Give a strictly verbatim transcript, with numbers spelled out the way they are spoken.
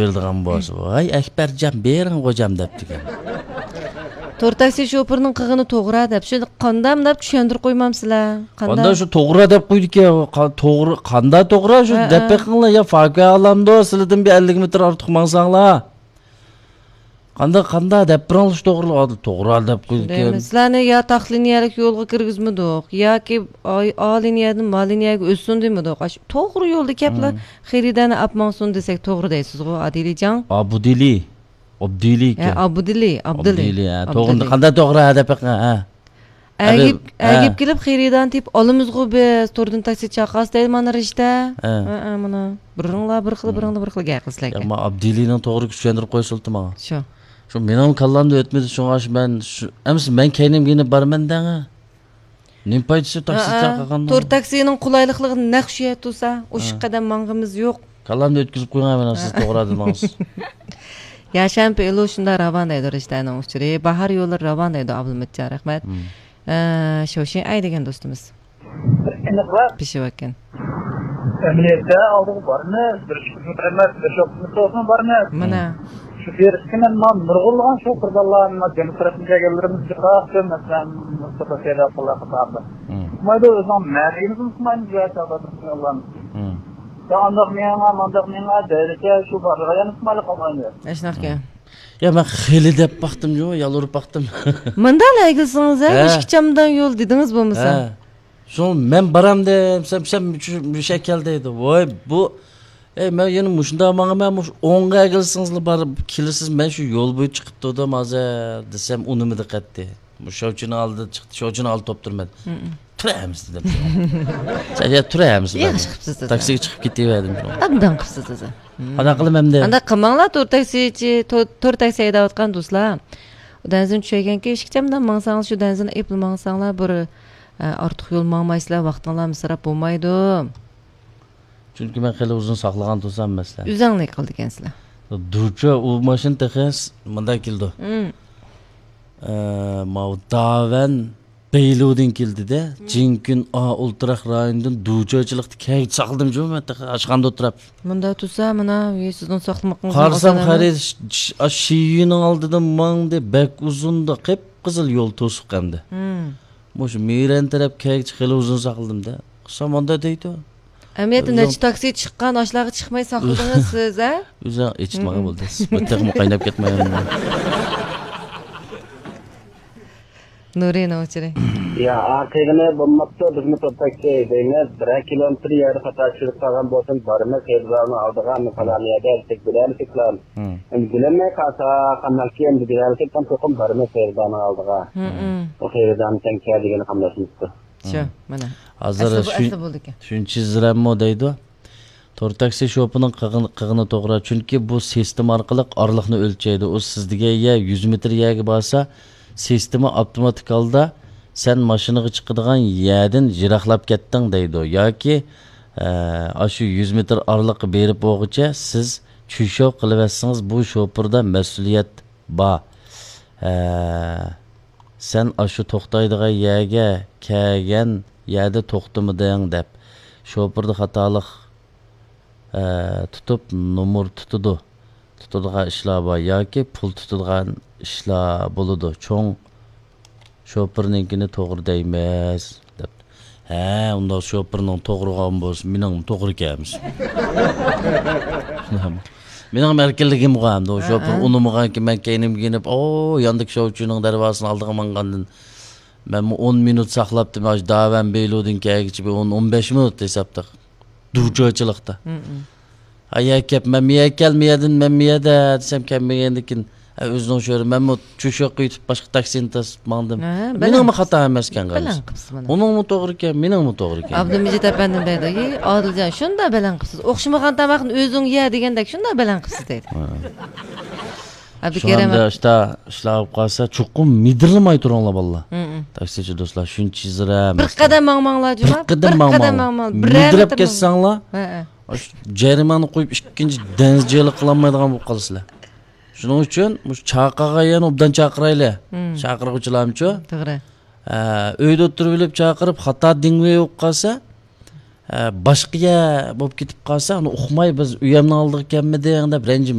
بېرىدىغان بولسا، ۋاي ئەكبەرجان، بېرىڭ غوجام دەپتىكەن. تور تاكسى شوپۇرىنىڭ قىلغىنى توغرا دەپ، شۇ قانداق مۇنداق چۈشەندۈرۈپ قويمامسىلەر؟ قانداق؟ قانداق شۇ توغرا دەپ قويدىكەن، قا-، توغرا، قانداق توغرا شۇ ھە، دەپ ھە. بېقىڭلار، يا فاكۇ ئالامدۇ، سىلىدىن بىر ئەللىك مېتىر ئارتۇق ماڭساڭلار. قانداق، قانداق دەپ بېرىڭلار شۇ توغرا، توغرا دەپ قويدىكەن. دەيمىز. سىلەرنى يا تاق لىنىيەلىك يولغا كىرگۈزمىدۇق، ياكى ئا، ئا لىنىيەدىن ما لىنىيەگە ئۆتسۇن دېمىدۇق. ئاشۇ توغرا يولدا كەپلا ھە. خېرىدارنى ئاپ ماڭسۇن دېسەك توغرا دەيسىزغۇ، ئادىلىجان؟ ئابۇدىلى. ئابدىلى ھە، ئىكەن. ئابدىلى، ئابدىلى. ئابدىلى، ھە. ئابدىلى. توغرا، قانداق توغرا ھە دەپ بېقىڭ، ھە. ئەگىپ، ھە. ئەگىپ كېلىپ خېرىدارنى تېپىپ ئالىمىزغۇ بىز، توردىن تاكسى چاقاس دەيدۇ مانا رىشتە. ھە. ھە، ھە، مانا. بىرىڭلار بىر خىل، ھە. بىرىڭلار بىر خىل گەپ قىلسىلەركەن. ياق، مانا ئابدىلىنىڭ توغرا چۈشەندۈرۈپ قويسىلىتى ماڭا. شۇ. شۇ مېنىڭ كاللامدا ئۆتمىدى، شۇڭا شۇ مەن شۇ، ئەمىسە مەن كەينىمگە يېنىپ بارىمەن دەڭە. نېمە پايدىسى تاكسى ھە، چاقىرغاننىڭ؟ تور تاكسىنىڭ قولايلىقلىقى نەق شۇ يەردە تۇرسا، ئوشۇق ھە. قەدەم ماڭغىمىز يوق. كاللامدا ئۆتكۈزۈپ قويغان مەن سىز ھە. توغرا دېدىڭىز. ياشان پېلۇ شۇنداق راۋان دەيدۇ رىشتەنىڭ ئۇچۇرى. باھار يوللىرى راۋان دەيدۇ ئابلىمىتجان، رەھمەت. مم. ئە، شوشىن ئەي دېگەن دوستىمىز. ئېنىقراق. پىشىۋەتكەن. ئەمەلىيەتتە ئالدىغا بارىمىز، بىر ئىككى كىلومېتىر ئەمەس، بىر شوپۇرنى توسۇن بارىمىز. مانا. مم. شۇ بېرىشكە مەن ما نۇرغۇنلىغان شوپۇرلار، ما جەنۇب تەرەپتىن كەلگەنلىرىمىز جىقراقتىن، مەسىلەن، مۇستاپا سەيداپۇللا قاتارلىق. مم. ئۇقمايدۇ، ئۆزىنىڭ مەنزىلىنى ئۇقمايمىز يا چاغدا. مم. ئانداق مېڭە، مانداق مېڭە، دەيدىكەن، شۇ بارغا يەنە ئىسمايىل قالغان يەر. ئەشناقكەن. يا، مەن خېلى دەپ باقتىم جۇ، يالۋۇرۇپ باقتىم. مۇنداق ئەگىلسىڭىز، ھە، ھە. ئىككى چامدان يول دېدىڭىز بولمىسا. ھە. شۇ مەن بارام دېسەم، سەن مۇشۇ، مۇشۇ كەل دەيدۇ. ۋاي، بۇ، ئەي، مەن يەنە مۇشۇنداق ماڭىمەن، مۇشۇ ئوڭغا ئەگىلسىڭىزلا بارىپ كېلىسىز، مەن شۇ يول بويى چىقىپ تۇردۇم ھازىر دېسەم، ئۇنىمىدى قەتئىي. مۇشۇ شوچىنىڭ ئالدىدا چىقتى، شوچىنىڭ ئالدىدا توپ تۇرىمەن. مم. تۇرە ھەممىسى دېدىم. سەن يا تۇرە ھەممىسى ياخشى دەپ. قىپسىز دېدى. تاكسىگە چىقىپ كېتىۋەردىم. ئابدان قىپسىز دېدى. مم. قانداق قىلىمەن ئەمدى؟ ئانداق قىلماڭلار، تور تاكسىچى، تور، تور تاكسى ھەيدەۋاتقان دوستلار. دەنزىنى چۈشەيگەنكى، ئىككى چامدان ماڭساڭلار، شۇ دەنزىنى ئېپلا ماڭساڭلار، بىر، ئە، ئارتۇق يول ماڭمايسىلەر، ۋاقتىڭلار مىسراپ بولمايدۇ. چۈنكى مەن خېلى ئۇزۇن ساقلىغان تۇرسام مەسىلەن. ئۆزۈڭلار قىلىدىكەنسىلەر. دۇچا ئۇ ماشىنا تېخى س-، مۇنداق كېلىدۇ. مم. ئە، ماۋۇ داۋەن بەيلۇدىن كېلدى-دە. مم. جىنكۈن ئا ئولتۇراق رايونىدىن دۇچاچىلىقتا كەيچە ساقلىدىم جۇمۇ مەن تېخى ئاشخانىدا ئولتۇراپ. مۇنداق تۇرسا، مانا، ۋى سىزنىڭ ساقلىمىقىڭىزنى قارىسام، ئاسان خەرىت ئەمەس. ش-، ش-، ئاشۇ شىيۈنىڭ ئالدىدىن ماڭدى، بەك ئۇزۇندا، قىپقىزىل يول توسۇق ئەمدى. مم. مۇشۇ مىرەن تەرەپ كەيچە خېلى ئۇزۇن ساقلىدىم-دە. قىلسام مۇنداق دەيدۇ. ئەمەلىيەتتە ئۆزۈڭ نەچچە تاكسى چىققان، ئاشۇلارغا چىقماي ساقلىدىڭىز سىز، ھە؟ ئۆزۈڭ ئېچىتمىغان مم. بولدى. بۇ تېخىمۇ قايناپ كەتمەي. نۇرىنىڭ ئۇچۇرى. يا، ئارقىغىنى بولماپتۇ، بىزمۇ توپ تاكسى دەيمىز. بىرەر كىلومېتىر يەردە خاتا چۈشۈرۈپ قالغان بولسۇن، بارىمىز خېرىدارنىڭ ئالدىغا، مۇ پالان يەردە دېسەك بىلەمسىز پالان. مم. ئەمدى بىلەلمەي قالسا، قانداق كىيىم دېگەنلىكى، تام توقۇم بارىمىز خېرىدارنىڭ ئالدىغا. مم. ئۇ خېرىدارنى سەن كەل دېگىنى قاملاشمىسىدۇ. شۇ، مم. مانا. ھازىر ئەسلى بۇ، شۇ، ئەسلى بولىدىكەن. شۇنچە زىرەممۇ دەيدۇ. تور تاكسى شوپۇرنىڭ قىلغىنى، قىلغىنى توغرا. چۈنكى بۇ سىستېما ئارقىلىق ئارىلىقنى ئۆلچەيدۇ. ئۇ سىز دېگەن يەر يۈز مېتىر يەرگە بارسا، سىستېما ئاپتوماتىك ھالدا سەن ماشىنىغا چىقىدىغان يەردىن يىراقلاپ كەتتىڭ دەيدۇ. ياكى، ئە، ئاشۇ يۈز مېتىر ئارىلىققا بېرىپ بولغۇچە سىز چۈشۈپ قېلىۋەتسىڭىز، بۇ شوپۇردا مەسئۇلىيەت بار. ئە، سەن ئاشۇ توختايدىغان يەرگە كەلگەن يەردە توختىمىدىڭ دەپ، شوپۇردا خاتالىق، ئە، تۇتۇپ نومۇر تۇتىدۇ. تۇتىدىغان ئىشلار بار ياكى پۇل تۇتىدىغان ئىشلار بولىدۇ. چوڭ شوپۇرنىڭكىنى توغرا دەيمىز، دەپتۇ. ھە، ئۇنداق شوپۇرنىڭ توغرىغان بولسا، مېنىڭمۇ توغرا كەلمىسۇن. مېنىڭمۇ ئەركىنلىكىم بار ئەمدى. ئۇ ھە، شوپۇر ھە. ئۇنىمىغانكىن، مەن كەينىمگە يېنىپ، ئو، ياندىكى شوۋچىنىڭ دەرۋازىسىنىڭ ئالدىغا ماڭغاندىن، مەنمۇ ئون مىنۇت ساقلاپتىم. ئاشۇ داۋەن بېيلۇدىن كەلگۈچە بىر ئون، ئون بەش مىنۇت ھېسابتا. دۇچاچىلىقتا. مم، مم. ھە، يەر كەپ، مەن مىيە كەل، مىيەدىن، مەن مىيەدە دېسەم، كەلمىگەندىكىن، ھە، ئۆزىنىڭ شورى، مەنمۇ چۈشۈپ قېتىپ باشقا تاكسىنى تاسىپ ماڭدىم. ھە، مېنىڭمۇ بەلەن خاتا ئەمەسكەن، بەلەن قىلىسىز. قىپسىز مانا. ئۇنىڭمۇ توغرا ئىكەن، مېنىڭمۇ توغرا ئىكەن. ئابدۇمىجىت ئەپەندىم دەيدۇ، ئى، ئادىلجان، شۇنداق بەلەن قىپسىز. ئوخشىمىغان تاماقنى ئۆزۈڭ يە دېگەندەك، شۇنداق بەلەن قىپسىز دەيدۇ. ھە. ئابدۇكېرىم شۇڭا ئەمدى ئىشتا، ئىشلار بولۇپ قالسا، چوقۇم مىدىرلىماي تۇرۇڭلار، بالىلار. مم، مم. تاكسىچى دوستلار، شۇنچە زىرەم. بىر قەدەم ماڭماڭلار، جۇما. بىر قەدەم ماڭماڭ. بىر مىدىرەپ كەتسەڭلار، ھە، ھە. ئاشۇ جەرىمانە قويۇپ، ئىككىنچى دەنزى جېلى قىلالمايدىغان بولۇپ قالىسىلەر. شۇنىڭ ئۈچۈن مۇشۇ چاقىرغان يەرنى ئوبدان چاقىرايلى. مم. چاقىرغۇچىلارمۇچۇ؟ توغرا. ھە، ئۆيدە ئولتۇرۇۋېلىپ چاقىرىپ، خاتا دىڭۋېي بولۇپ قالسا، ھە، باشقا يەر بولۇپ كېتىپ قالسا، ئۇنى ئۇقماي، بىز ئۆيەمنىڭ ئالدىغا كەلمىدىڭ دەپ رەنجىمەيدۇ.